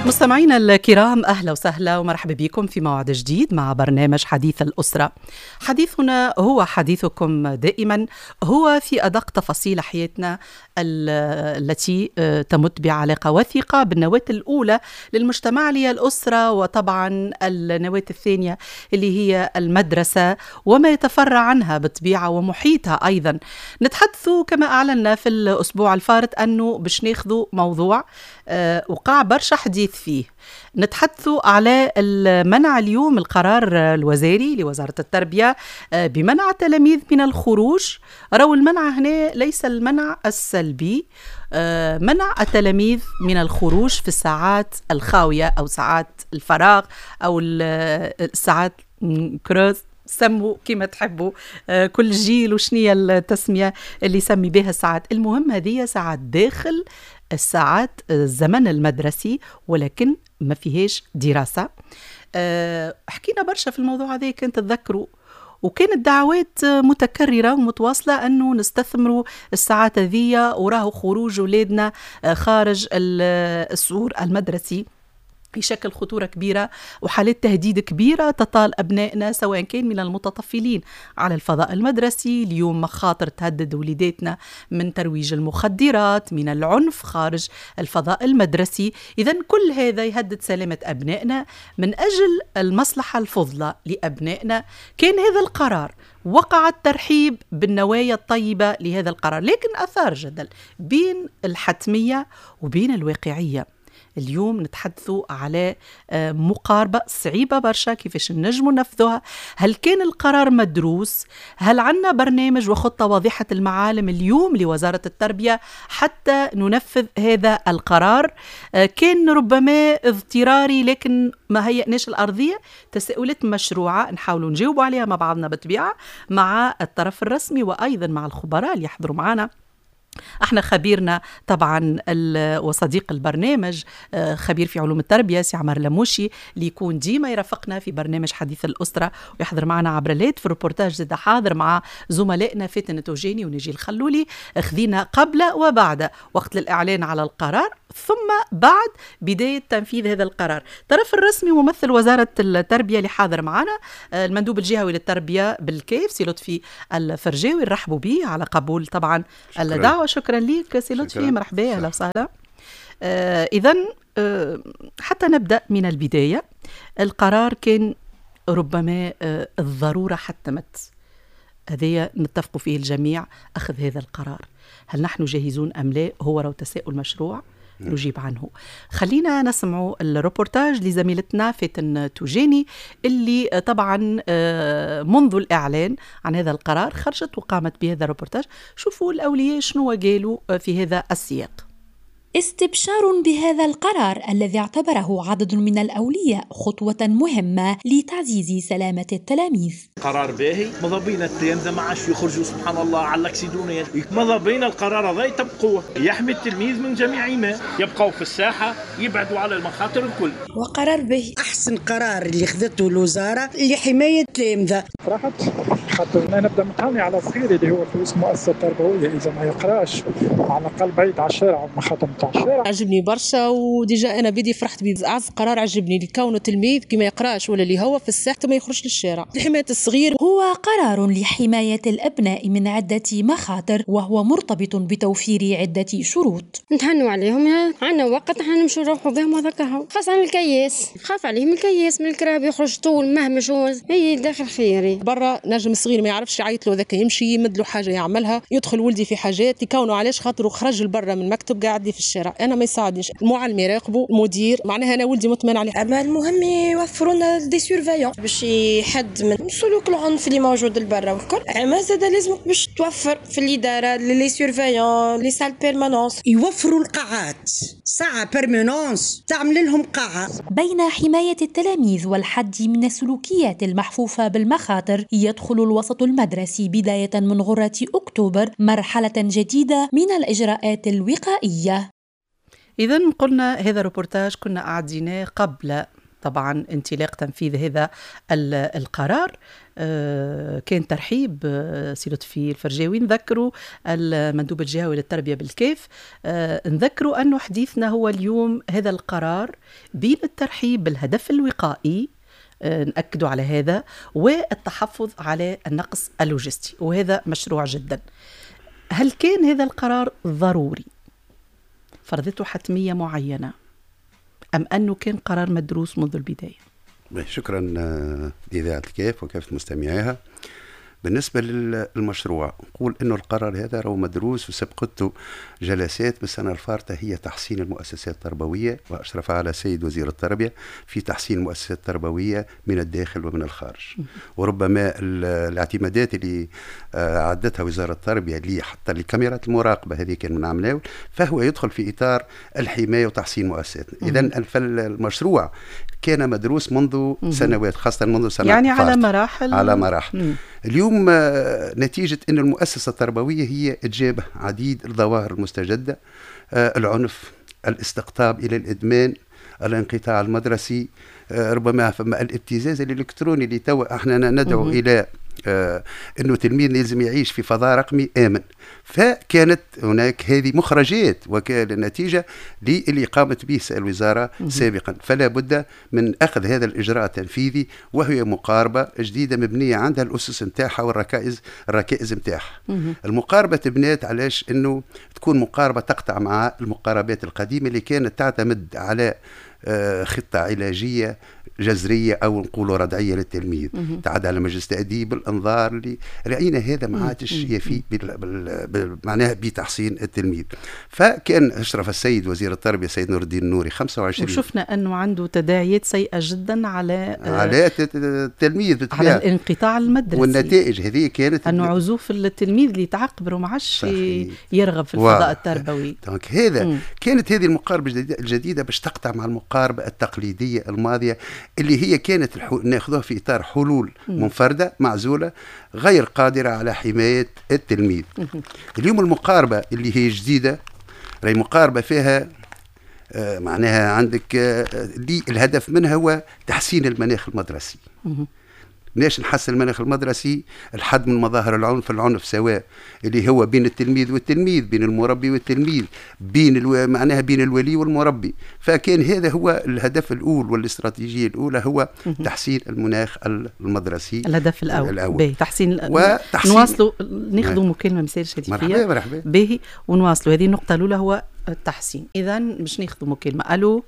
مستمعينا الكرام، أهلا وسهلا ومرحبا بكم في موعد جديد مع برنامج حديث الأسرة. حديثنا هو حديثكم دائما، هو في أدق تفاصيل حياتنا التي تمت بعلاقة وثيقة بالنواة الأولى للمجتمع اللي هي الأسرة، وطبعا النواة الثانية اللي هي المدرسة وما يتفرع عنها بالطبيعة ومحيطها أيضا. نتحدث كما أعلنا في الأسبوع الفارط أنه باش ناخذ موضوع وقع برشا حديث فيه. نتحدث على المنع اليوم، القرار الوزاري لوزارة التربية بمنع التلاميذ من الخروج. راو المنع هنا ليس المنع السلبي، منع التلاميذ من الخروج في الساعات الخاوية أو ساعات الفراغ أو الساعات creuses، سموا كما تحبوا، كل جيل وشنية التسمية اللي يسمي بها الساعات. المهم هذه ساعات داخل الساعات الزمن المدرسي ولكن ما فيهاش دراسة. حكينا برشا في الموضوع هذا كنت تذكروا، وكانت دعوات متكررة ومتواصلة أنه نستثمروا الساعات هذية وراه خروج أولادنا خارج السور المدرسي يشكل خطورة كبيرة وحالات تهديد كبيرة تطال أبنائنا سواء كان من المتطفلين على الفضاء المدرسي. اليوم مخاطر تهدد وليداتنا من ترويج المخدرات، من العنف خارج الفضاء المدرسي. إذن كل هذا يهدد سلامة أبنائنا. من أجل المصلحة الفضلى لأبنائنا كان هذا القرار، وقع الترحيب بالنوايا الطيبة لهذا القرار، لكن أثار جدل بين الحتمية وبين الواقعية. اليوم نتحدث على مقاربة صعيبة برشا، كيفاش نجموا ننفذوها؟ هل كان القرار مدروس؟ هل عندنا برنامج وخطة واضحة المعالم اليوم لوزارة التربية حتى ننفذ هذا القرار؟ كان ربما اضطراري لكن ما هيئناش الأرضية. تساؤلات مشروعة نحاولوا نجاوبوا عليها مع بعضنا بالطبيعة، مع الطرف الرسمي وأيضا مع الخبراء اللي يحضروا معنا. احنا خبيرنا طبعا وصديق البرنامج خبير في علوم التربية سي عمر لموشي اللي يكون ديما يرافقنا في برنامج حديث الاسرة ويحضر معنا عبر الهاتف. الريبورتاج زاد حاضر مع زملائنا فاتن توجيني ونجي الخلولي. خذينا قبل وبعد وقت الاعلان على القرار ثم بعد بداية تنفيذ هذا القرار. الطرف الرسمي ممثل وزارة التربية اللي حاضر معنا المندوب الجهوي للتربية بالكيف سي لطفي الفرجاوي، نرحبوا به على قبول طبعا الدعوة. شكرا لك سي لطفي، مرحبا، اهلا وسهلا. اذا حتى نبدا من البداية، القرار كان ربما الضرورة حتمت، هذايا نتفق فيه الجميع، اخذ هذا القرار. هل نحن جاهزون ام لا؟ هو رو تساؤل مشروع نجيب عنه. خلينا نسمع الروبورتاج لزميلتنا فاتن توجيني اللي طبعا منذ الإعلان عن هذا القرار خرجت وقامت بهذا الروبورتاج. شوفوا الأولياء شنو قالوا في هذا السياق. استبشار بهذا القرار الذي اعتبره عدد من الأولياء خطوة مهمة لتعزيز سلامة التلاميذ. قرار باهي، ماذا بينا التلامذة ما عادش يخرجوا سبحان الله على الاكسيدونيات، ماذا بينا القرار هذا يطبقوه، يحمي التلميذ من جميع ما، يبقوا في الساحة، يبعدوا على المخاطر الكل. وقرار باهي، أحسن قرار اللي خذته الوزارة لحماية التلامذة. فرحت خاطر أنا نبدا متهني على صغيري اللي هو في اسم مؤسسة تربوية، إذا ما يقراش على الأقل بعيد على الشارع والمخاطر. عجبني برشا، و déjà انا بدي فرحت بيه. اعز قرار عجبني لكونه تلميذ كي ما يقراش ولا اللي هو في الساحة ما يخرجش للشارع، لحماية الصغير. هو قرار لحماية الابناء من عده مخاطر، وهو مرتبط بتوفير عده شروط. نتهنوا عليهم، عندنا وقت احنا نمشوا نروحوا بهم وهذاك هو، خاصة الكياس، خاف عليهم الكياس من الكراب يخرج طول مهما شو هي داخل خيري. برا نجم الصغير ما يعرفش يعيط له ذاك يمشي يمد له حاجة يعملها، يدخل ولدي في حاجات يكونوا علاش خاطر خرج لبرا من المكتب قاعد لي في الشارع، انا ما يساعدنيش، المعلم يراقبه، المدير، معناها انا ولدي مطمئن عليه. اما المهم يوفروا لنا des surveillants باش يحد من سلوك العنف اللي موجود لبرا والكل. اما زاد لازمك باش توفر في الادارة les surveillants، les salles permanence، يوفروا القاعات، ساعة permanence تعمل لهم قاعة. بين حماية التلاميذ والحد من السلوكيات المحفوفه بالمخاطر، يدخل الوسط المدرسي بداية من غره اكتوبر مرحلة جديدة من الاجراءات الوقائية. إذا قلنا هذا الروبورتاج كنا أعديناه قبل طبعا انطلاق تنفيذ هذا القرار. كان ترحيب سي لطفي الفرجاوي، نذكروا المندوب الجهوي للتربية بالكاف، نذكروا أنه حديثنا هو اليوم هذا القرار بين الترحيب بالهدف الوقائي، نأكدوا على هذا، والتحفظ على النقص اللوجستي، وهذا مشروع جدا. هل كان هذا القرار ضروري؟ فرضته حتمية معينة أم أنه كان قرار مدروس منذ البداية؟ شكرا لإذاعة الكاف وكافة مستمعيها. بالنسبة للمشروع نقول أنه القرار هذا راهو مدروس وسبقته جلسات بالسنة الفارطة هي تحسين المؤسسات التربوية، وأشرف على السيد وزير التربية في تحسين المؤسسات التربوية من الداخل ومن الخارج. وربما الاعتمادات اللي عدتها وزارة التربية حتى لكاميرات المراقبة هذه كان من عام الأول، فهو يدخل في إطار الحماية وتحسين مؤسساتنا. إذن فالمشروع كان مدروس منذ سنوات، خاصة منذ سنة يعني على مراحل، على مراحل. اليوم نتيجة أن المؤسسة التربوية هي تجابه عديد الظواهر المستجدة، العنف، الاستقطاب إلى الإدمان، الانقطاع المدرسي، ربما فما الابتزاز الإلكتروني اللي تو احنا ندعو إلى أنه تلميذ لازم يعيش في فضاء رقمي آمن. فكانت هناك هذه مخرجات وكان النتيجة اللي قامت به الوزارة سابقا، فلا بد من أخذ هذا الإجراء التنفيذي، وهي مقاربة جديدة مبنية عندها الأسس نتاعها والركائز الركائز نتاعها. المقاربة تبنات علاش أنه تكون مقاربة تقطع مع المقاربات القديمة اللي كانت تعتمد على خطة علاجية جذرية أو نقولوا ردعية للتلميذ، تعد على مجلس تأديب، الإنذار، اللي رأينا هذا ما عادش يفي معناها بتحسين التلميذ. فكان أشرف السيد وزير التربية السيد نور الدين النوري 25، وشفنا أنه عنده تداعيات سيئة جدا على التلميذ، على الانقطاع المدرسي، والنتائج هذه كانت أنه عزوف التلميذ اللي يتعقبر وما عادش يرغب في الفضاء التربوي. donc هذا كانت هذه المقاربة الجديدة باش تقطع مع المقاربة التقليدية الماضية اللي هي كانت ناخذوها في إطار حلول منفردة معزولة غير قادرة على حماية التلميذ. اليوم المقاربة اللي هي جديدة راهي مقاربة فيها معناها عندك اللي الهدف منها هو تحسين المناخ المدرسي. ليش نحسن المناخ المدرسي؟ الحد من مظاهر العنف، العنف سواء اللي هو بين التلميذ والتلميذ، بين المربي والتلميذ، بين معناها بين الولي والمربي. فكان هذا هو الهدف الأول والاستراتيجية الأولى، هو تحسين المناخ المدرسي، الهدف الأول. باهي، تحسين نواصلوا ناخذوا مكالمة مسالش هاتفية. مرحبا مرحبا. باهي، ونواصلوا هذه النقطة الأولى هو التحسين. إذا باش ناخذوا مكالمة. ألو.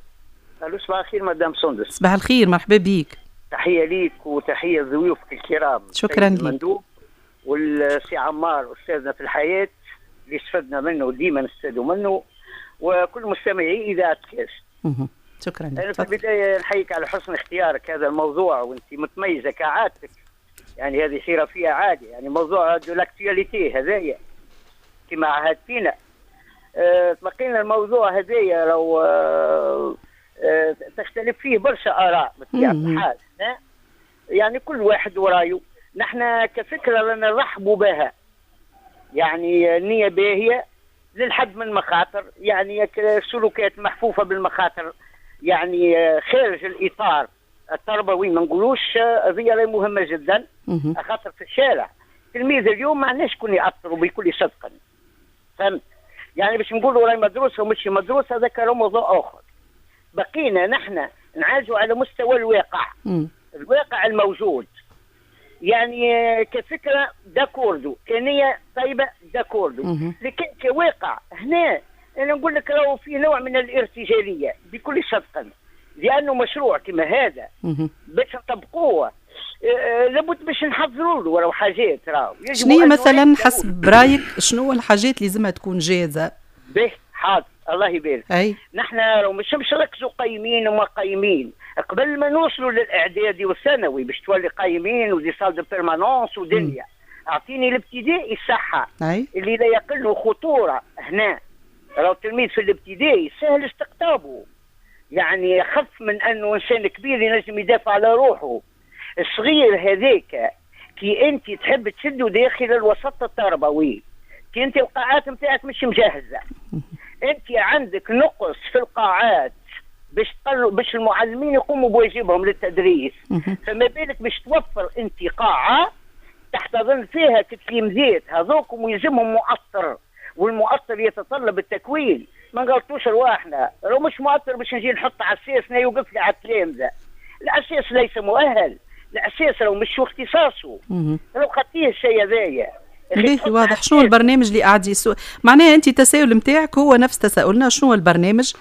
ألو، صباح الخير مدام سندس. صباح الخير، مرحبا بيك. تحية ليك وتحية لضيوفك الكرام. شكرا لك. المندوب والسي عمار أستاذنا في الحياة اللي استفدنا منه وديما نستفادوا منه، وكل مستمعي إذاعة كاس. شكرا لك. أنا في البداية نحييك على حسن اختيارك هذا الموضوع، وأنت متميزة كعادتك، يعني هذه حرفية عادية، يعني موضوع de l'actualité هذايا كما عهدتينا. تبقينا الموضوع هذايا لو تختلف فيه برشا آراء بطبيعة الحال، يعني كل واحد ورايه. نحن كفكرة لنا نرحبوا بها، يعني النية باهية للحد من المخاطر، يعني سلوكات محفوفة بالمخاطر، يعني خارج الإطار التربوي ما نقولوش، هذه مهمة جدا. خاطر في الشارع التلميذ اليوم ما عندناش شكون يأثروا بكل صدق، فهمت؟ يعني باش نقولوا راهي مدروسة ومش مدروسة هذاك موضوع آخر. بقينا نحن نعالجوا على مستوى الواقع. الواقع الموجود، يعني كفكرة d'accord كنية طيبة d'accord، لكن كواقع هنا أنا نقول لك راهو في نوع من الارتجالية بكل صدق، لأنه مشروع كما هذا باش نطبقوه لابد باش نحضروا له راهو حاجات. راهو شنو مثلا حسب رايك شنو الحاجات اللي لازمها تكون جاهزة؟ به حاضر، الله يبارك. أي. نحن مش نركزوا قيمين وما قيمين قبل ما نوصلوا للاعدادي والثانوي باش تولي قيمين و des salles de permanence ودنيا. اعطيني الابتدائي الصحة اللي لا يقل خطورة. هنا راهو التلميذ في الابتدائي سهل استقطابه، يعني خف من انه انسان كبير ينجم يدافع على روحه. الصغير هذاك كي انت تحب تشده داخل الوسط التربوي، كي انت القاعات نتاعك مش مجهزة، انت عندك نقص في القاعات باش تقري باش المعلمين يقوموا بواجبهم للتدريس. فما بالك باش توفر انت قاعة تحتضن فيها تلاميذات هذوكم ويلزمهم مؤطر، والمؤطر يتطلب التكوين. ما نغلطوش رواحنا، لو مش مؤطر باش نجي نحط عساس يوقف لي على التلامذه. العساس ليس مؤهل، العساس لو مش اختصاصه، لو خطيه الشيء هذايا. باهي واضح. شنو البرنامج اللي قاعد معناها انت التساؤل نتاعك هو نفس تساؤلنا، شنو البرنامج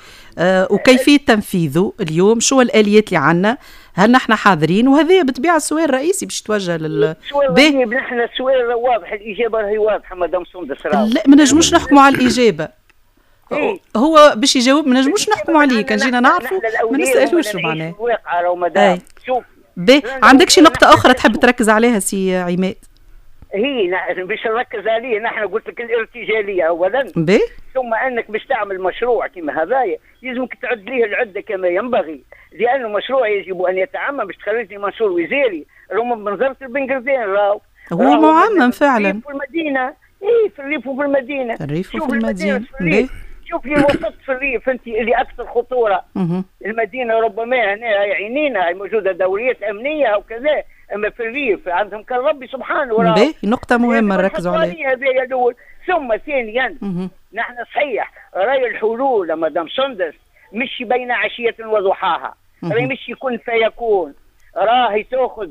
وكيفية تنفيذه اليوم، شو الاليات اللي عندنا، هل نحن حاضرين؟ وهذا بالطبيعة السؤال الرئيسي باش يتوجه لل باهي. نحن السؤال واضح، الاجابة راهي واضحة مدام سندس. لا ما نجموش نحكموا على الاجابة. إيه؟ هو باش يجاوب ما نجموش نحكموا عليه، كان جينا نعرفوا ما نسالوش معناها. الواقع راهو مدام. شوف باهي، عندك شي نقطة اخرى تحب تركز عليها سي عماد؟ هي باش نركز عليه نحن قلت لك الارتجاليه اولا، ثم انك باش تعمل مشروع كما هذايا يلزمك تعد ليه العدة كما ينبغي، لانه مشروع يجب ان يتعمم باش تخرج لي منشور وزاري راهو من بنزرت لبنقردان راهو هو معمم فعلا في المدينة. اي في الريف وفي المدينة، الريف وفي المدينة. شوف لي الوسط في الريف انت اللي اكثر خطورة. المدينة ربما هنا عينينا موجودة دوريات امنية وكذا، اما في الريف عندهم كان ربي سبحانه. باهي نقطة مهمة نركزوا عليها هذا الاول. ثم ثانيا نحن صحيح راي الحلول مدام سندس مش بين عشية وضحاها، راهي مش يكون فيكون، راهي تاخذ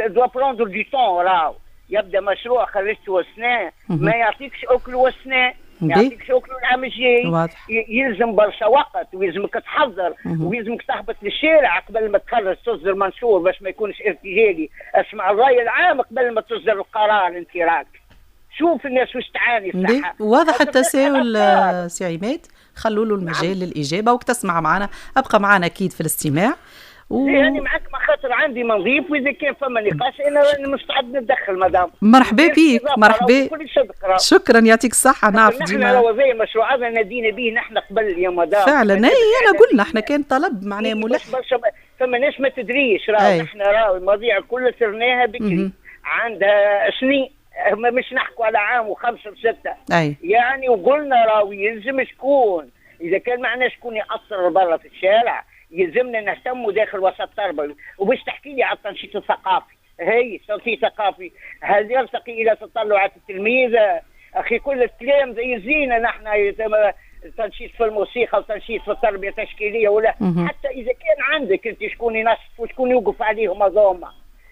doit prendre du temps. راهو يبدا مشروع خرجته سنة ما يعطيكش اكل وسنة، ما يعطيكش اكل العام الجاي، يلزم برشا وقت ويلزمك تحضر ويلزمك تهبط للشارع قبل ما تخرج تصدر منشور باش ما يكونش ارتجالي. اسمع الراي العام قبل ما تصدر القرار انت راك شوف الناس واش تعاني. الصحة واضح التساؤل سي عماد، خلوا له المجال للاجابة وتسمع معنا، ابقى معنا اكيد في الاستماع. يعني معك ما خاطر عندي ما نضيف، واذا كان فما نقاش انا مستعد نتدخل مدام. مرحبا بيك، مرحبا، شكرا يعطيك الصحة. نعرف ديما نحن زي المشروع هذا نادينا به نحن قبل يا مدام فعلا. اي انا قلنا احنا كان طلب معناه ملح، فما ناس ما تدريش راهو نحن راهو المواضيع كلها سرناها بكري عندها سنين، مش نحكوا على عام وخمسة وستة. يعني وقلنا راهو يلزم شكون، اذا كان معنا شكون يأثر برا في الشارع يلزمنا نهتموا داخل وسط التربوي. وباش تحكي لي على التنشيط الثقافي، هي التنشيط الثقافي هل يرتقي الى تطلعات التلميذ؟ اخي كل الكلام زي زينة نحن تنشيط في الموسيقى وتنشيط في التربية التشكيليه ولا حتى اذا كان عندك انت شكون ينشط وشكون يوقف عليهم هذوما.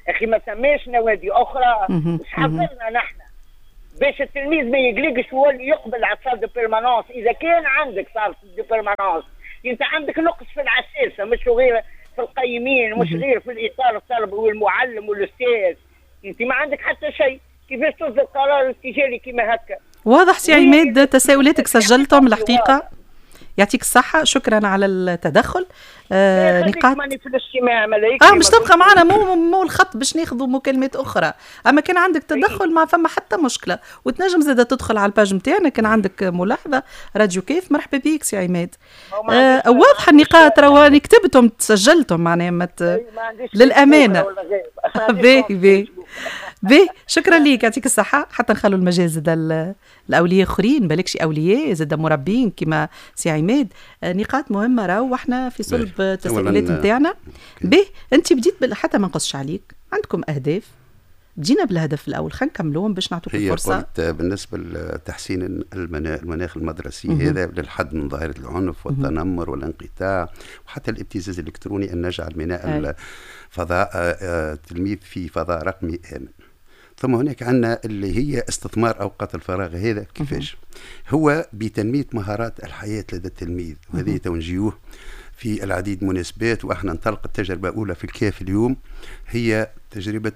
اخي ما ثماش نوادي اخرى حضرنا نحن باش التلميذ ما يقلقش ويولي يقبل على salle de permanence. اذا كان عندك salle de permanence انت عندك نقص في العساسه، مش غير في القيمين، مش غير في الاطار التربوي والمعلم والاستاذ، انت ما عندك حتى شيء. كيفاش تصدر قرار ارتجالي كيما هكا؟ واضح سي عماد، تساؤلاتك سجلتهم الحقيقة. يعطيك الصحة، شكرا على التدخل. نقاط في الاجتماع ملايكة. مش تبقى معنا مو الخط باش ناخذوا مكالمات أخرى، أما كان عندك تدخل ما فما حتى مشكلة، وتنجم زادة تدخل على ال page نتاعنا كان عندك ملاحظة. راديو كيف، مرحبا بيك سي عماد. واضحة النقاط رواني كتبتهم سجلتهم معناها للأمانة. باهي باهي باهي، شكرا ليك يعطيك الصحة. حتى نخلوا المجال زاد الأولياء آخرين، بالكش أولياء زاد مربين كما سي عماد. نقاط مهمة راهو واحنا في صلب التساؤلات نتاعنا. به أنت بديت حتى ما نقصش عليك، عندكم أهداف، بدينا بالهدف الأول خلينا نكملوهم باش نعطوك الفرصة. قلت بالنسبة لتحسين المناخ المدرسي هذا للحد من ظاهرة العنف والتنمر والانقطاع وحتى الابتزاز الإلكتروني، أن نجعل من فضاء التلميذ في فضاء رقمي آمن. ثم هناك عندنا اللي هي استثمار أوقات الفراغ. هذا كيفاش؟ هو بتنمية مهارات الحياة لدى التلميذ، وهذه تنجيوه في العديد من المناسبات. وإحنا نطلق التجربة الأولى في الكاف اليوم، هي تجربة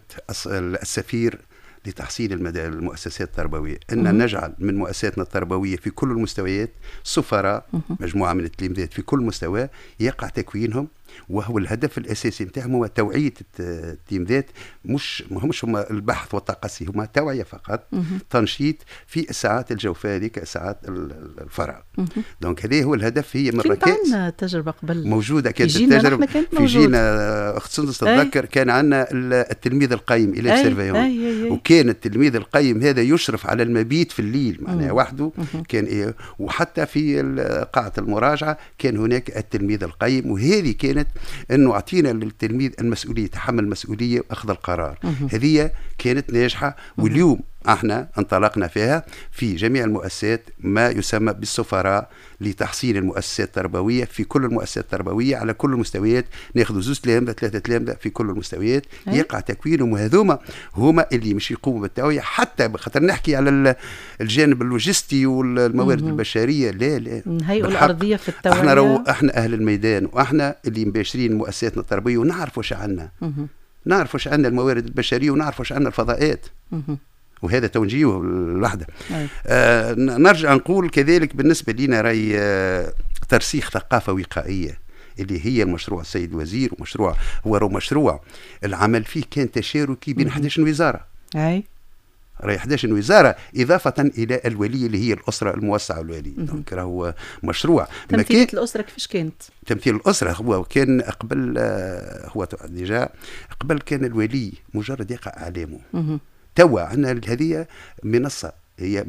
السفير لتحصيل المؤسسات التربوية، أن نجعل من مؤسساتنا التربوية في كل المستويات سفراء، مجموعة من التلاميذات في كل مستوى يقع تكوينهم وهو الهدف الاساسي نتاعهم هو توعيه التلميذات، مش ماهمش هما البحث والتقصي، هما توعيه فقط، تنشيط في الساعات الجوفاء هذيك، ساعات الفراغ. donc هذا هو الهدف. هي من ركائز عندنا تجربه قبل موجودة، كانت التجربة في جينا اخت سندس تتذكر كان عندنا التلميذ القيم élève surveillant، وكان التلميذ القيم هذا يشرف على المبيت في الليل معناها وحده كان، وحتى في قاعة المراجعة كان هناك التلميذ القيم. وهذه كانت انه اعطينا للتلميذ المسؤولية، تحمل المسؤولية واخذ القرار. هذه كانت ناجحة، واليوم احنا انطلقنا فيها في جميع المؤسسات ما يسمى بالسفراء لتحصين المؤسسات التربوية في كل المؤسسات التربوية على كل المستويات. ناخذ 2 تلامذه 3 تلامذه في كل المستويات يقع تكوينهم، وهذوما هما اللي مش يقوموا بالتوعية. حتى خاطر نحكي على الجانب اللوجستي والموارد البشرية، لا لا، الهيئة الارضية في التوعية. احنا اهل الميدان، واحنا اللي مباشرين مؤسساتنا التربوية، ونعرف واش عندنا، نعرف واش عندنا الموارد البشرية، ونعرف واش عندنا الفضاءات، وهذا توجيه الوحدة. نرجع نقول كذلك بالنسبة لنا راي ترسيخ ثقافة وقائيه اللي هي المشروع السيد الوزير، ومشروع هو مشروع العمل فيه كان تشاركي بين 11 وزارة. اي راهي 11 وزارة اضافه الى الولي اللي هي الاسرة الموسعه الولي. donc راهو مشروع. تمثيل الاسرة كيفاش كانت؟ تمثيل الاسرة هو كان قبل، هو déjà قبل كان الولي مجرد يقع اعلامه. توا عندنا هذه منصة، هي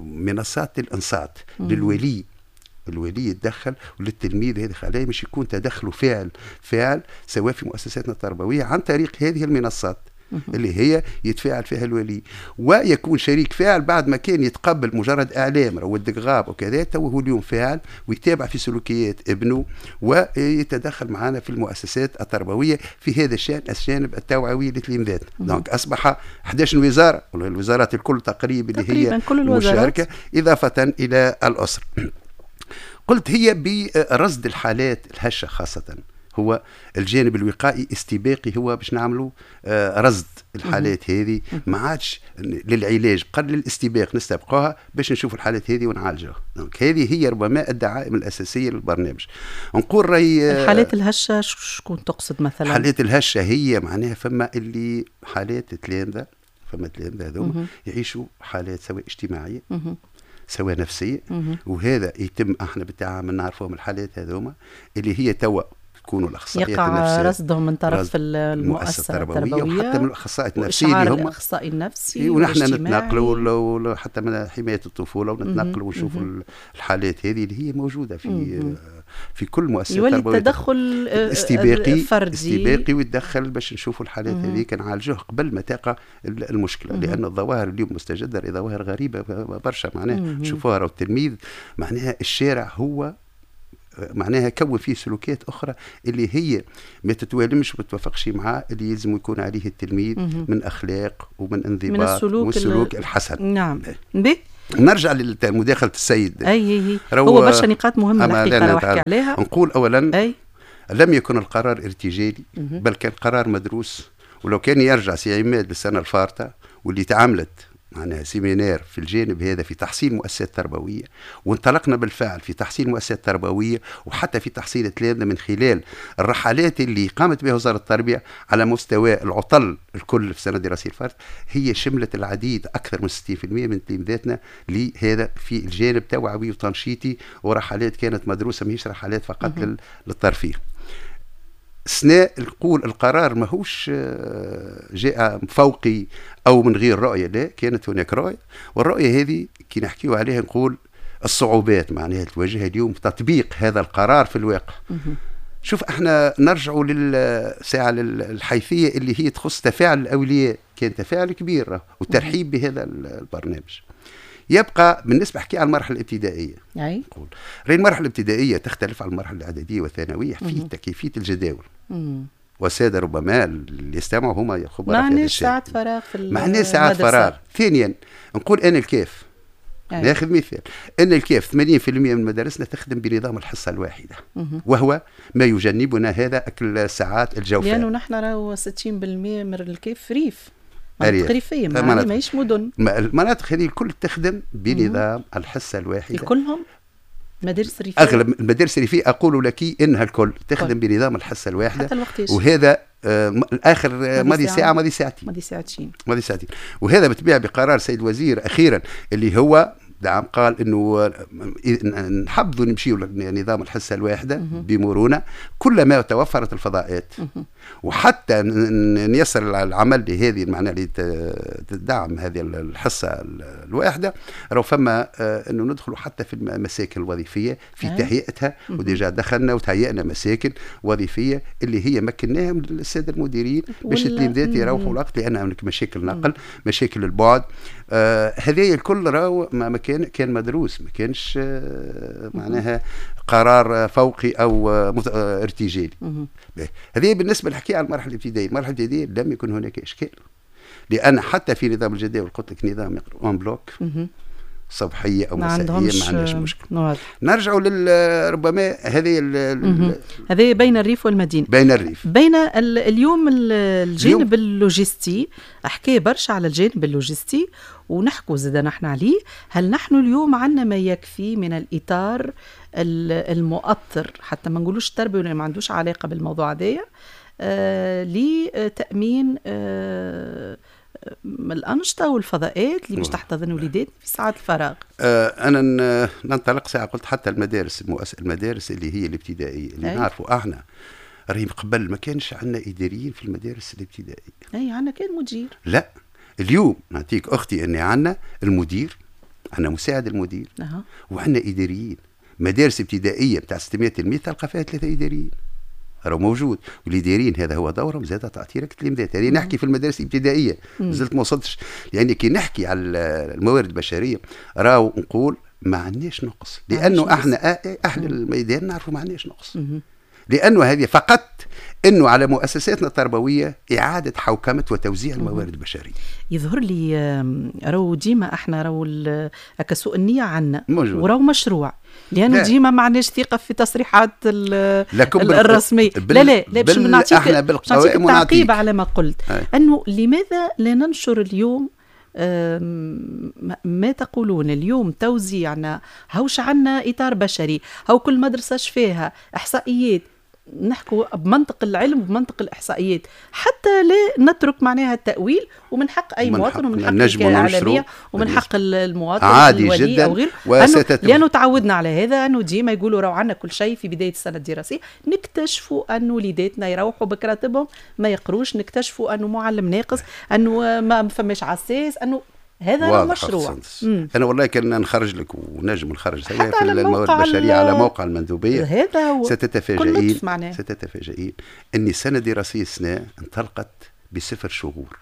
منصات الانصات للولي، الولي يتدخل وللتلميذ هذه خلاه مش يكون تدخله فاعل سواء في مؤسساتنا التربوية عن طريق هذه المنصات اللي هي يتفاعل فيها الولي ويكون شريك فاعل. بعد ما كان يتقبل مجرد اعلام ودك غاب وكذا، تو هو اليوم فاعل ويتابع في سلوكيات ابنه ويتدخل معنا في المؤسسات التربوية في هذا الشان، الجانب التوعوي للتلميذات. donc اصبح 11 وزارة، الوزارات الكل تقريبا اللي هي مشاركة، اضافه الى الاسرة. قلت هي برصد الحالات الهشه خاصة، هو الجانب الوقائي استباقي، هو باش نعملوا رصد الحالات هذه، ما عادش للعلاج قبل الاستباق، نستبقوها باش نشوف الحالات هذه ونعالجوها. donc هذه هي ربما الدعائم الاساسية للبرنامج. نقول راي الحالات الهشه شكون تقصد مثلا؟ الحالات الهشه هي معناها فما اللي حالات تلامذه، فما تلامذه هذوما يعيشوا حالات سواء اجتماعية سواء نفسية، وهذا يتم احنا بالتعامل نعرفوهم الحالات هذوما اللي هي توا تكونوا الاخصائيات النفسية يقع رصدهم من طرف المؤسسة التربوية وحتى من الاخصائيات النفسية اللي هم الاخصائي النفسي، ونحن نتناقلوا حتى من حماية الطفولة ونتناقلوا ونشوفوا الحالات هذه اللي هي موجودة في كل مؤسسة تربوية. يولي التدخل استباقي فردي استباقي ويتدخل باش نشوفوا الحالات هذه نعالجوه قبل ما تقع المشكلة، لان الظواهر اليوم مستجده ظواهر غريبة برشا معناها نشوفوها. التلميذ معناها الشارع هو معناها كون فيه سلوكيات أخرى اللي هي ما تتوالمش وما تتوافقش مع اللي يلزم يكون عليه التلميذ من أخلاق ومن انضباط من السلوك والسلوك الحسن. نعم. به نرجع لمداخلة السيد. أي هو برشا نقاط مهمة الحقيقة لو أحكي عليها. نقول أولا أي. لم يكن القرار ارتجالي، بل كان قرار مدروس. ولو كان يرجع سي عماد للسنة الفارطة واللي تعاملت معناها séminaire في الجانب هذا في تحصيل مؤسسات تربوية، وانطلقنا بالفعل في تحصيل مؤسسات تربوية وحتى في تحصيل التلامذه من خلال الرحلات اللي قامت بها وزارة التربية على مستوى العطل الكل في السنة الدراسية الفارطه، هي شملت العديد اكثر من 60% من تلامذاتنا لهذا في الجانب توعوي وتنشيطي، ورحلات كانت مدروسة ماهيش رحلات فقط للترفيه. سناء نقول القرار ماهوش جاء فوقي او من غير رؤية، لا، كانت هناك رؤية، والرؤية هذه كي نحكيو عليها نقول الصعوبات معناها تواجهها اليوم تطبيق هذا القرار في الواقع. شوف احنا نرجعوا للساعة الحيثية اللي هي تخص تفاعل الاولياء، كان تفاعل كبير وترحيب بهذا البرنامج. يبقى بالنسبة احكي على المرحلة الابتدائية، نقول راهي المرحلة الابتدائية تختلف عن المرحلة الاعدادية والثانويه في كيفية الجداول. والسادة ربما اللي يستمعوا هما الخبراء في هذا الشيء. معناه ساعات فراغ في معناه ساعات فراغ. ثانيا نقول انا الكاف، ناخذ مثال ان الكاف 80% من مدارسنا تخدم بنظام الحصة الواحدة، وهو ما يجنبنا هذا اكل ساعات الجوفاء، لانه نحن راهو 60% من الكاف ريف، مناطق ريفيه ماهيش مدن. المناطق هذه الكل تخدم بنظام الحصة الواحدة كلهم؟ المدارس الريفية، اغلب المدارس الريفية اقول لك انها الكل تخدم بنظام الحصة الواحدة. حتى الوقتاش؟ وهذا الاخر ماضي ساعة، ماضي ساعتين، ماضي ساعتين، ماضي ساعتين. وهذا بالطبيعة بقرار سيد الوزير اخيرا اللي هو دعم، قال انه نحبذوا نمشيو لنظام الحصة الواحدة بمرونه كلما توفرت الفضاءات، وحتى نيسر العمل لهذه المعنى اللي تدعم هذه الحصة الواحدة. راهو فما انه ندخلوا حتى في المساكن الوظيفية في تهيئتها، و déjà دخلنا وتهيئنا مساكن وظيفية اللي هي مكناهم للسادة المديرين باش التلاميذات يروحوا الوقت، لان هناك مشاكل نقل، مشاكل البعد، هذا الكل راهو ما كان مدروس، ما كانش معناها قرار فوقي او ارتجالي. هذه بالنسبة للحكي على المرحلة الابتدائية. المرحلة الابتدائية لم يكن هناك اشكال، لان حتى في نظام الجداول قلت لك نظام en bloc صبحيه او مسائية، ما عندناش مشكل. نرجعوا ربما هذه هذه بين الريف والمدينة، بين الريف، بين اليوم الجانب اللوجستي. احكي برشا على الجانب اللوجستي ونحكوا زاد نحن عليه. هل نحن اليوم عندنا ما يكفي من الاطار المؤطر، حتى ما نقولوش التربية ولا ما عندوش علاقة بالموضوع هذايا، لتامين الأنشطة والفضاءات اللي باش تحتضن وليدات في ساعات الفراغ؟ أنا ننطلق ساعة قلت حتى المدارس المدارس اللي هي الابتدائية اللي نعرفوا احنا راهي قبل ما كانش عندنا إداريين في المدارس الابتدائية. أي عندنا كان مدير. لا اليوم نعطيك أختي أني عندنا المدير، عندنا مساعد المدير، وعندنا إداريين. مدارس ابتدائية بتاع 600 تلميذ تلقى فيها 3 إداريين، راهو موجود. والاداريين هذا هو دورهم زاد تعطيرك التلميذات. يعني نحكي في المدارس الابتدائية مازلت ما وصلتش، لان كي نحكي على الموارد البشرية راهو نقول ما عندناش نقص، لانه احنا اهل الميدان نعرفوا ما عندناش نقص، لانه هذه فقط انه على مؤسساتنا التربوية اعاده حوكمة وتوزيع الموارد البشرية. يظهر لي راهو ديما احنا راهو سوء النية عندنا وراهو مشروع، لانه ديما ما عندناش ثقة في تصريحات الرسمية. لا لا لا باش نعطيك تعقيب على ما قلت، انه لماذا لا ننشر اليوم ما تقولون اليوم توزيعنا، هوش عنا اطار بشري، هو كل مدرسه شفاها احصائيات، نحكوا بمنطق العلم وبمنطق الإحصائيات حتى لا نترك معناها التأويل. ومن حق أي مواطن ومن حق الإعلامية ومن حق المواطن عادي جدا أو غيره، لأنه تعودنا على هذا، أنه ديما يقولوا راهو عنا كل شيء في بداية السنة الدراسية، نكتشفوا أنه وليداتنا يروحوا بكراتبهم ما يقروش، نكتشفوا أنه معلم ناقص، أنه ما فماش عساس، أنه هذا مشروع. انا والله كان نخرج لك ونجم نخرج في الموارد البشرية على موقع المندوبيه، هذا هو. ستتفاجئين ان السنة الدراسية السنة انطلقت بصفر شهور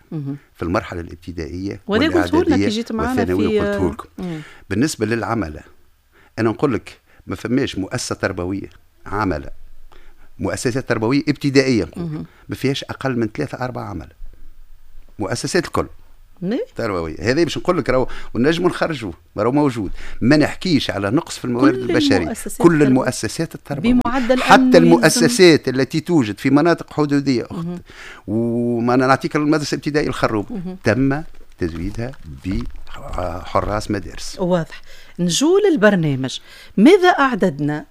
في المرحلة الابتدائية والاعداديه والثانويه، قلته لكم. بالنسبة للعملة انا نقول لك ما فماش مؤسسة تربوية عمله، مؤسسات تربوية ابتدائية نقول ما فيهاش اقل من 3-4 عمله، مؤسسات الكل تربوية. هذا باش نقول لك راهو ونجموا نخرجوه، راهو موجود. ما نحكيش على نقص في الموارد البشرية، كل المؤسسات التربوية بمعدل حتى المؤسسات التي توجد في مناطق حدوديه اخت، وما نعطيك المدرسة الابتدائية الخروب تم تزويدها بحراس مدارس. واضح. نجول البرنامج، ماذا اعددنا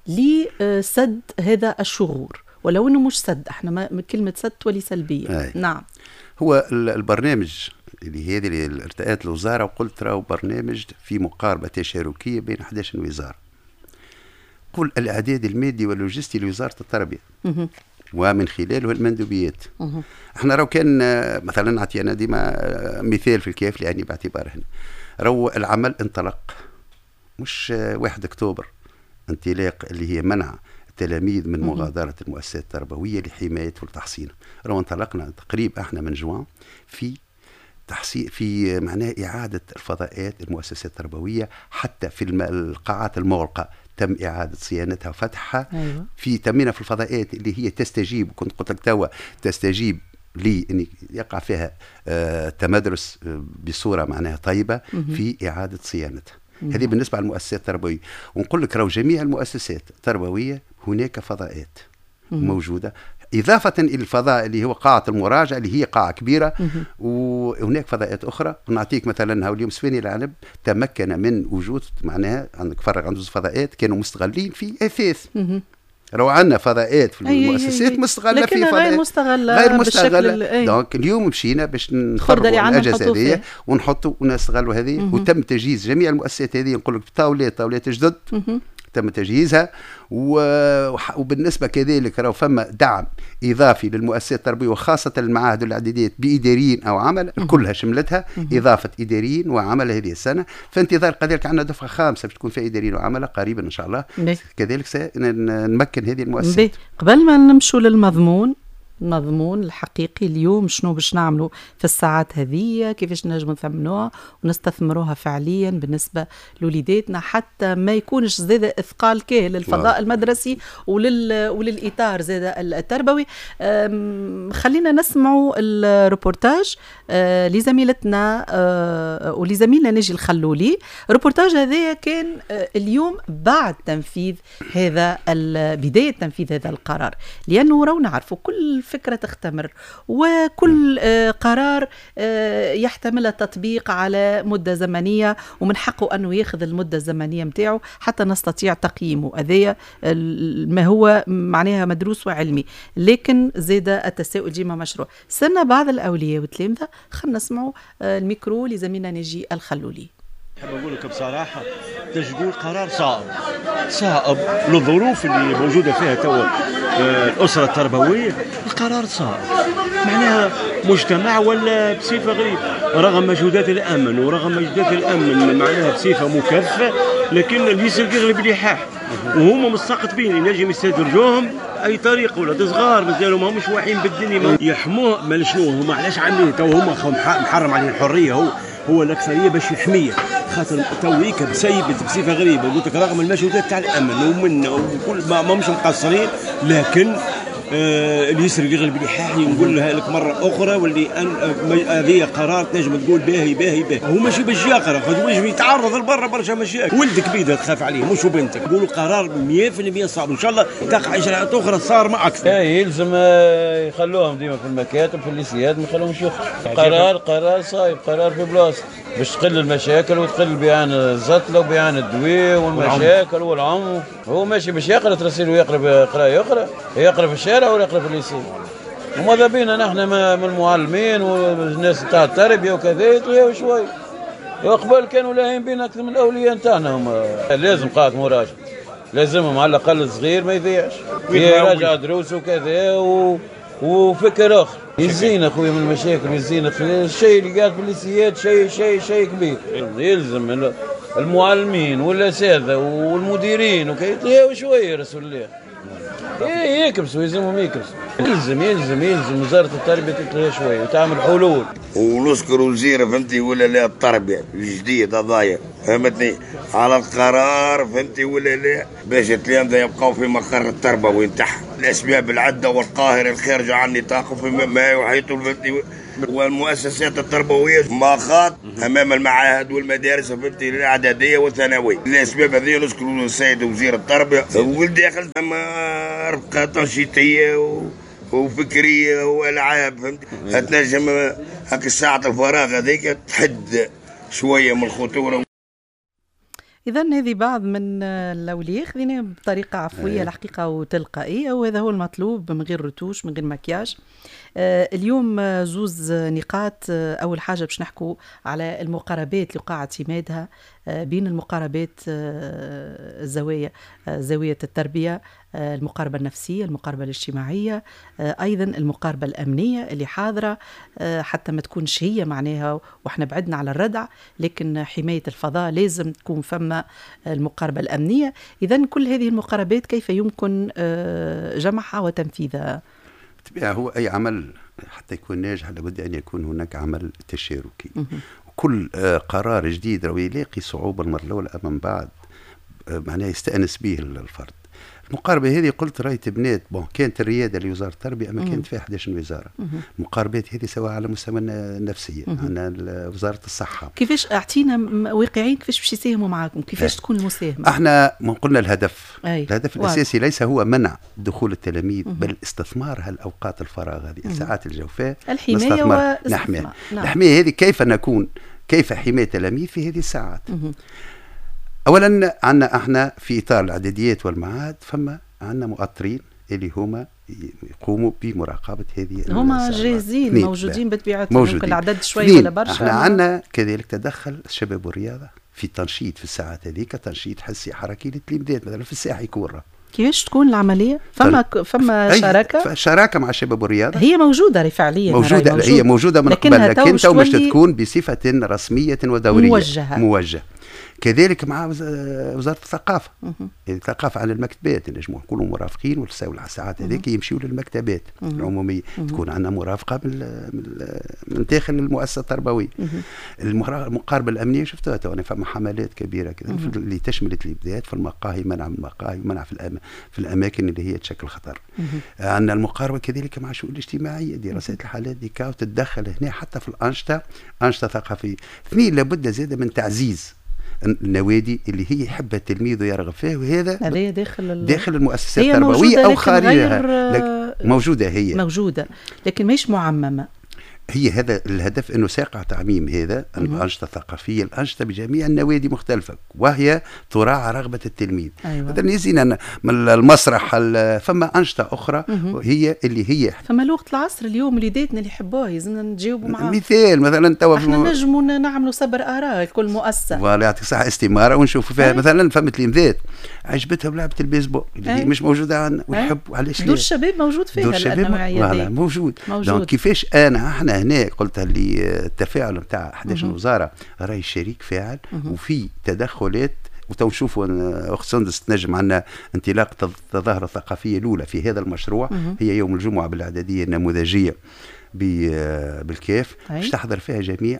لسد هذا الشغور؟ ولو انه مش سد، احنا ما كلمة سد تولي سلبية. أي. نعم. هو البرنامج اللي هذه اللي ارتأت الوزارة، وقلت راهو برنامج في مقاربة تشاركيه بين 11 وزارة. قل الاعداد المادي واللوجستي لوزارة التربية ومن خلاله المندوبيات. احنا راهو كان مثلا نعطي انا ديما مثال في الكاف، لاني باعتبار هنا راهو العمل انطلق مش 1 اكتوبر، انطلاق اللي هي منع التلاميذ من مغادرة المؤسسات التربوية لحماية والتحصين. راهو انطلقنا تقريبا احنا من جوان في تحصين، في معناه إعادة الفضاءات المؤسسات التربوية، حتى في القاعات المغلقة تم إعادة صيانتها وفتحها. أيوة. في تمينا في الفضاءات اللي هي تستجيب، كنت قلت لك توا تستجيب لي أن يقع فيها تمدرس بصورة معناها طيبة في إعادة صيانتها. هذه بالنسبة للمؤسسات التربوية. ونقول لك راهو جميع المؤسسات التربوية هناك فضاءات موجودة، إضافة إلى الفضاء اللي هو قاعة المراجعة اللي هي قاعة كبيرة، وهناك فضاءات أخرى. نعطيك مثلا اليوم سواني العنب تمكن من وجود معناها عندك فرق عنده فضاءات كانوا مستغلين في أثاث. لو عندنا فضاءات في المؤسسات مستغله في فضاءات غير مستغله، غير مستغله. donc اليوم مشينا باش نخرجوا الاجهزة هذه ونحطوا ونستغلوا هذه، وتم تجهيز جميع المؤسسات هذه. نقول لك طاولات جدد تم تجهيزها، وبالنسبة كذلك راهو فما دعم اضافي للمؤسسات التربوية وخاصة المعاهد والاعداديات باداريين او عمل، كلها شملتها اضافه اداريين وعمل هذه السنة. في انتظار كذلك عندنا دفعه خامسة باش تكون فيها اداريين وعمله قريبا ان شاء الله. كذلك سنمكن هذه المؤسسات. قبل ما نمشوا للمضمون، المضمون الحقيقي اليوم شنو باش نعملوا في الساعات هذه، كيفاش نجموا نثمنوها ونستثمروها فعليا بالنسبة لوليداتنا حتى ما يكونش زاد اثقال كاهل للفضاء المدرسي وللاطار زاد التربوي. خلينا نسمعوا الروبورتاج لزميلتنا ولزميلنا ناجي الخلولي. الروبورتاج هذا كان اليوم بعد تنفيذ هذا، بداية تنفيذ هذا القرار، لانه راهو نعرفوا كل فكرة تختمر وكل قرار يحتمل التطبيق على مدة زمنية، ومن حقه أنه ياخذ المدة الزمنية متاعه حتى نستطيع تقييمه. هذايا ما هو معناها مدروس وعلمي، لكن زاد التساؤل ديما مشروع. سنة بعض الأولياء والتلامذة، خلينا نسمعوا الميكرو لزميلنا ناجي الخلولي. نحب نقول لك بصراحة تجدوا قرار صائب، صائب للظروف اللي موجودة فيها توا الاسرة التربوية. القرار صائب معناها مجتمع ولا بصفة غريبة، رغم مجهودات الامن ورغم مجهودات الامن معناها بصفة مكثفة، لكن اليسر يغلب الإلحاح وهما مستقطبين ينجم يستدرجوهم اي طريقه. ولاد صغار مازالوا ماهمش واعيين بالدنيا، يحموه ما شنو هما علاش عاملين تو هما محرم عليه الحرية، هو الاكثرية باش يحميه خاطر تويك بسيبت بصفة غريبة. قلت لك رغم المجهودات تاع الامن ومن وكل ما مش مقصرين، لكن اليسر يغلب الإلحاح. نقول لك مرة اخرى واللي هذه قرار تنجم تقول باهي باهي باهي، هو ماشي باش يقرا، خاطر باش يتعرض لبرا برشا مشاكل. ولدك بيده تخاف عليه مش بنتك. نقولوا قرار 100% صعب، ان شاء الله تقع اجراءات اخرى صار ما اكثر. يلزم يخلوهم ديما في المكاتب في الليسيات، ما يخلوهمش يخرجوا. قرار صايب، قرار في بلاصة باش تقل المشاكل وتقل بيعان الزتله وبيعان الدواء والمشاكل والعنف. هو ماشي باش يقرا ترسيل ويقرا قرايه اخرى، يقرا في الشارع ولا يقرا في ال lycée. وماذا بينا نحن من المعلمين والناس تاع التربية وكذا يتلهوا شوي. وقبل كانوا لاهين بينا اكثر من الاولياء نتاعنا. هما لازم قاعة مراجعه، لازمهم على الاقل الصغير ما يضيعش، يراجع دروسه وكذا وفكر اخر. يزينا خويا من المشاكل، يزينا الشيء اللي قاعد في الليسيات شيء شيء شيء كبير. يلزم المعلمين والاساتذه والمديرين وكي يتلهوا شوية رسول الله. يكبسوا، يلزمهم يكبسوا. يلزم يلزم يلزم وزارة التربية تتلهى شوية وتعمل حلول. ونشكر وزير فهمتي ولا لا التربية الجديد هذايا فهمتني على القرار فهمتي ولا لا، باش التلامذه يبقاو في مقر التربوي نتاعهم. الاسباب العدة والقاهره الخارجة عن نطاقه في ما يحيط فهمتي والمؤسسات التربوية مخاط امام المعاهد والمدارس فهمتي الاعدادية والثانويه. الاسباب هذه نشكر السيد وزير التربية والداخل ثم رفقه تنشيطيه وفكريه والعاب فهمتي تنجم هاك الساعة الفراغ هذيك تحد شوية من الخطورة. إذا هذه بعض من الأولياء خذيناها بطريقة عفوية الحقيقة وتلقائية، وهذا هو المطلوب من غير رتوش من غير مكياج. اليوم زوز نقاط. أول حاجة باش نحكوا على المقاربات اللي وقع اعتمادها بين المقاربات الزوايا، زاوية التربية، المقاربة النفسية، المقاربة الاجتماعية، أيضا المقاربة الأمنية اللي حاضرة حتى ما تكونش هي معناها وإحنا بعدنا على الردع، لكن حماية الفضاء لازم تكون فما المقاربة الأمنية. إذن كل هذه المقاربات كيف يمكن جمعها وتنفيذها؟ بالطبيعة هو أي عمل حتى يكون ناجح لابد أن يكون هناك عمل تشاركي. كل قرار جديد راهو يلاقي صعوبة المرة الأولى، أما من بعد معناها يستأنس به الفرد. المقاربة هذه قلت راهي تبنات، bon كانت الرياده لوزارة التربية اما كانت فيها 11 وزارة. المقاربات هذه سواء على مستوى النفسية، عندنا وزارة الصحة. كيفاش اعطينا واقعيا كيفاش باش يساهموا معاكم؟ كيفاش تكون المساهمة؟ احنا ما قلنا الهدف، الهدف الاساسي ليس هو منع دخول التلاميذ، بل استثمار هالاوقات الفراغ هذه، الساعات الجوفاء، الحماية. نحميها. نعم. الحماية هذه كيف نكون، كيف حماية التلاميذ في هذه الساعات؟ اولا عندنا احنا في اطار الاعداديات والمعاهد فما عندنا مؤطرين اللي هما يقوموا بمراقبة هذه. هما جاهزين موجودين بطبيعتهم، ممكن العدد شوية ولا برشا. احنا عندنا كذلك تدخل الشباب والرياضة في تنشيط في الساعات هذيك، تنشيط حسي حركي للتلميذات مثلا في الساحة يكون. كيفاش تكون العملية؟ فما شراكة؟ شراكة مع الشباب والرياضة هي موجودة فعليا، موجودة، هي موجودة من قبل، لكن تو مش تكون بصفة رسمية ودوريه موجهة. كذلك مع وزارة الثقافة، الثقافة على المكتبات نجموا نكونوا مرافقين، والساعات هذيك يمشيوا للمكتبات العمومية، تكون عندنا مرافقة من داخل المؤسسة التربوية. المقاربة الامنية شفتوها تو، فما حملات كبيرة كذا اللي تشمل الابداعات في المقاهي، منع المقاهي، منع في الاماكن اللي هي تشكل خطر. عندنا المقاربة كذلك مع الشؤون الاجتماعية، دراسات الحالات دي وتتدخل هنا حتى في الانشطة، انشطة ثقافية. اثنين، لابد زاد من تعزيز النوادي اللي هي يحبها التلميذ ويرغب فيها، وهذا داخل المؤسسات التربوية او خارجها. موجودة، هي موجودة لكن مش معممه. هي هذا الهدف، انه ساقع تعميم هذا الانشطة الثقافية، الانشطة بجميع النوادي مختلفة، وهي تراعى رغبة التلميذ. أيوة. مثلا يزينا من المسرح، فما انشطة اخرى هي اللي هي فما لغة العصر اليوم وليداتنا اللي يحبوها يلزمنا نتجاوبوا معاها. مثال مثلا توا احنا نجموا نعملوا سبر اراء لكل مؤسسة، voilà يعطيك الصحة، استماره ونشوفوا فيها. مثلا فما تلميذات عجبتهم لعبه البيسبول اللي هي مش موجودة عندنا، ويحبوا علاش دور الشباب موجود فيها، دور الشباب موجود. كيفاش انا احنا هنا قلت اللي التفاعل نتاع 11 وزارة راهي شريك فاعل، وفي تدخلات، وتو نشوفوا اخت سندس تنجم عندنا انطلاق التظاهرة الثقافية الاولى في هذا المشروع، هي يوم الجمعة بالاعداديه النموذجيه بالكاف، باش تحضر فيها جميع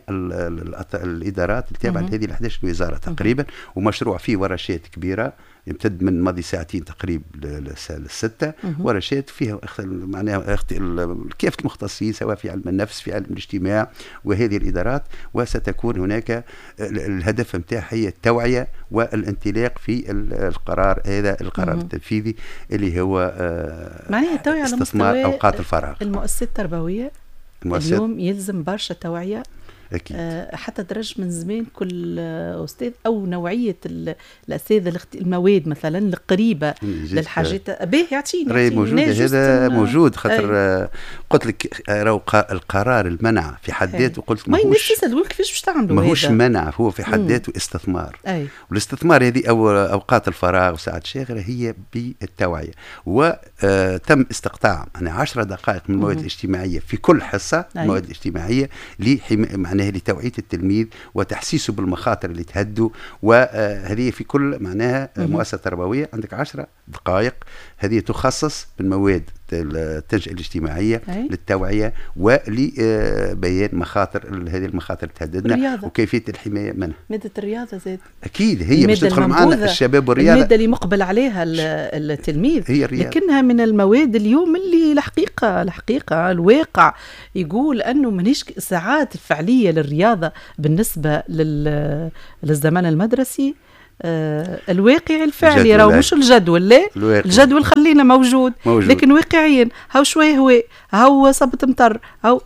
الادارات التابعة لهذه 11 وزارة تقريبا، ومشروع فيه ورشات كبيرة يمتد من ماضي ساعتين تقريبا للستة، ورشات فيها معناها كافة المختصين سواء في علم النفس، في علم الاجتماع، وهذه الإدارات. وستكون هناك الهدف نتاعها هي التوعية والانطلاق في القرار هذا، القرار التنفيذي اللي هو معناها التوعية على استثمار أوقات الفراغ. المؤسسات التربوية اليوم يلزم برشا توعية أكيد. حتى درج من زمان كل أستاذ أو نوعية الأساتذة المواد مثلا القريبة للحاجات به يعطيني موجودة. هذا موجود خاطر قلت لك راهو القرار المنع في حد ذاته، قلت ماهوش كيفاش باش تعملوا، ماهوش منع، هو في حد ذاته استثمار. والاستثمار هذه أو أوقات الفراغ وساعات الشاغرة هي بالتوعية، وتم استقطاع يعني 10 دقائق من المواد الاجتماعية في كل حصة، المواد الاجتماعية معناها لتوعية التلميذ وتحسيسه بالمخاطر اللي تهدوا، وهذه في كل معناها مؤسسة تربوية عندك 10 دقائق هذه تخصص بالمواد التنشئة الاجتماعية للتوعية ولبيان مخاطر هذه المخاطر تهددنا وكيفية الحماية منها. مادة الرياضة زاد أكيد هي باش تدخل معنا الشباب والرياضة، المادة اللي مقبل عليها التلميذ هي الرياضة، لكنها من المواد اليوم اللي الحقيقة الواقع يقول أنه مانيش ساعات الفعلية للرياضة بالنسبة للزمن المدرسي الواقع الفعلي، راهو مش الجدول، لا الجدول خلينا موجود. لكن واقعيا هاو شوية هواء، هاو صبت مطر، هاو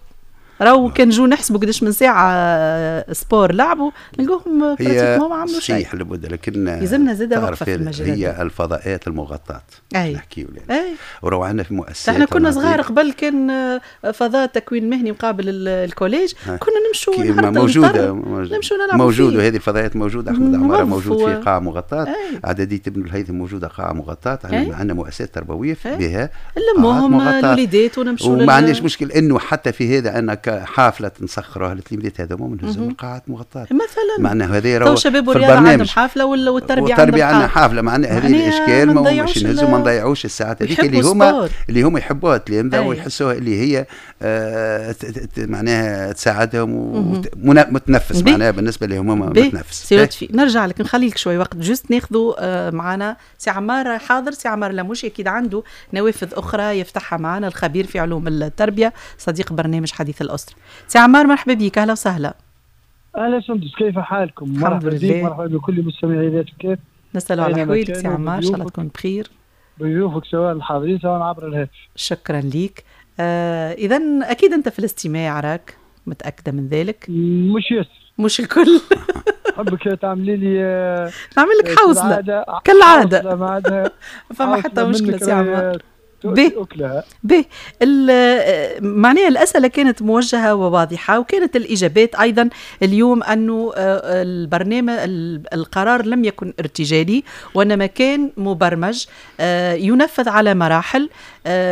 راهو كان جو نحسبوا قداش من ساعة sport لعبوا نلقوهم pratiquement ما عملوا شيء. صحيح لابد، لكن يلزمنا زاد وقفه في المجال هي الفضاءات المغطاه نحكيو يعني. وراهو عندنا في مؤسسات، احنا كنا صغار قبل كان فضاء تكوين مهني مقابل ال collège، كنا نمشوا موجودة نمشوا نلعبوا موجود، وهذه الفضاءات موجودة. احمد عمارة موجود في قاعة مغطاة، اعدادية ابن الهيثم موجودة قاعة مغطاة، عندنا مؤسسات تربوية بها نلموهم الوليدات ونمشوا، وما عندناش مشكل انه حتى في هذا انا حافلة نسخروها للتلاميذ هذوما ونهزهم القاعات مغطاة مثلا. معناها هذا راهو الشباب والرياضة عندهم حافلة والتربية عندنا حافلة. معناها هذه الاشكال ما مش نهزوا ما نضيعوش الساعات هذيك اللي هما يحبوها التلامذه ويحسوها اللي هي معناها تساعدهم ومتنفس، معناها بالنسبة لهم هما متنفس. سي لطفي نرجع لك، نخلي لك شوي وقت juste ناخذوا معنا سي عمار. حاضر سي عمار لموشي، اكيد عنده نوافذ اخرى يفتحها معنا، الخبير في علوم التربية صديق برنامج حديث الاسرة. سي عمار مرحبا بك، اهلا وسهلا. اهلا سندس، كيف حالكم؟ الحمد لله. مرحبا بكل مستمعي ذات الكيف. نسأل على حوالك سي عمار، ان شاء الله تكون بخير. بضيوفك سواء الحاضرين سواء عبر الهاتف. شكرا ليك. اذا اكيد انت في الاستماع، راك متاكدة من ذلك؟ مش ياسر، مش الكل. حبك تعملي لي نعمل لك حوصله كالعادة، فما حتى مشكلة سي عمار. به معناها الأسئلة كانت موجهة وواضحة، وكانت الإجابات أيضا اليوم أنه البرنامج القرار لم يكن ارتجالي، وإنما كان مبرمج ينفذ على مراحل.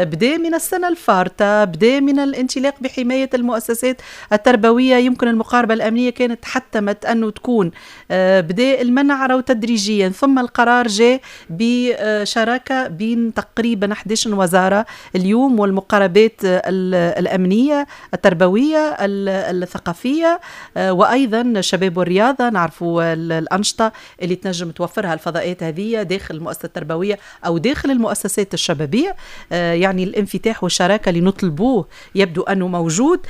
بدأ من السنة الفارطة، بدأ من الانطلاق بحماية المؤسسات التربوية، يمكن المقاربة الأمنية كانت حتمت أنه تكون، بدأ المنع رو تدريجيا، ثم القرار جاء بشراكة بين تقريبا 11 وزارة اليوم، والمقاربات الأمنية التربوية الثقافية، وأيضا الشباب والرياضة. نعرفوا الأنشطة اللي تنجم توفرها الفضاءات هذه داخل المؤسسة التربوية أو داخل المؤسسات الشبابية، يعني الانفتاح والشراكة اللي نطلبوه يبدو أنه موجود.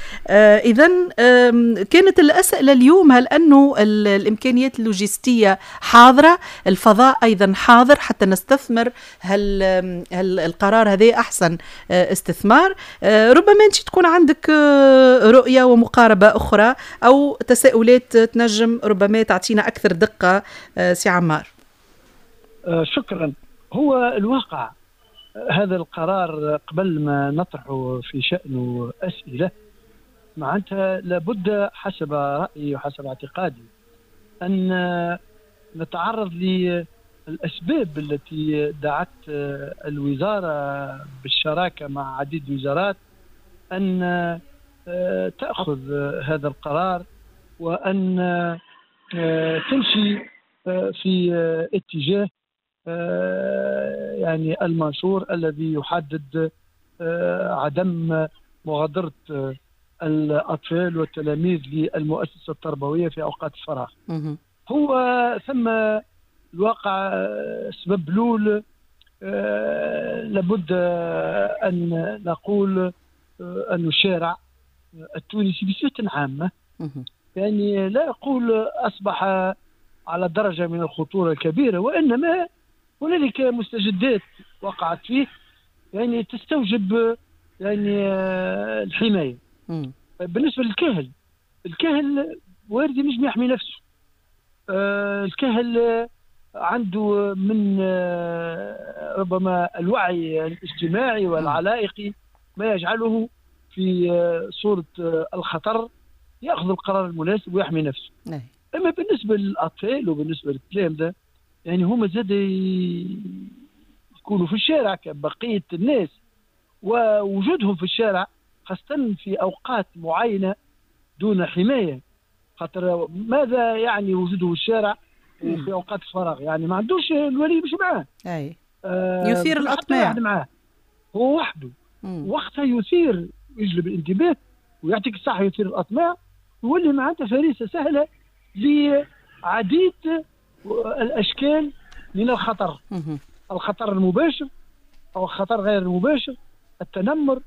إذن كانت الأسئلة اليوم، هل أنه الإمكانيات اللوجستية حاضرة، الفضاء أيضا حاضر حتى نستثمر هل القرار هذا أحسن استثمار؟ ربما أنت تكون عندك رؤية ومقاربة أخرى أو تساؤلات تنجم ربما تعطينا أكثر دقة سي عمار. شكرا. هو الواقع هذا القرار قبل ما نطرحه في شأنه أسئلة، معناتها لابد حسب رأيي وحسب اعتقادي أن نتعرض للأسباب التي دعت الوزارة بالشراكة مع عديد الوزارات أن تأخذ هذا القرار وأن تمشي في اتجاه يعني المنشور الذي يحدد عدم مغادرة الأطفال والتلاميذ للمؤسسة التربوية في أوقات الفراغ. هو ثم الواقع سبب لول، لابد أن نقول أن الشارع التونسي بصفة عامة يعني لا أقول أصبح على درجة من الخطورة الكبيرة، وإنما هنالك مستجدات وقعت فيه يعني تستوجب يعني الحماية. بالنسبة للكهل، الكهل وارد ينجم يحمي نفسه. الكهل عنده من ربما الوعي الاجتماعي والعلائقي ما يجعله في صورة الخطر يأخذ القرار المناسب ويحمي نفسه. أما بالنسبة للأطفال وبالنسبة للتلامذة يعني هما زاد يكونوا في الشارع كبقية الناس، ووجودهم في الشارع خاصة في أوقات معينة دون حماية، خاطر ماذا يعني وجوده في الشارع وفي أوقات الفراغ؟ يعني ما عندوش الولي مش معاه. أي. يثير الأطماع معاه هو وحده. وقتها يثير، يجلب الانتباه ويعطيك الصحة، يثير الأطماع ويولي معناتها فريسة سهلة لعديد الأشكال من الخطر. الخطر المباشر أو الخطر غير المباشر، التنمر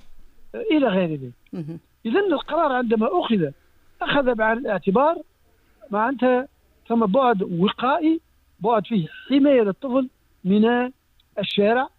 إلى غير ذلك. إذن القرار عندما أخذ بعين الاعتبار معناتها ثم بعد وقائي، بعد فيه حماية للطفل من الشارع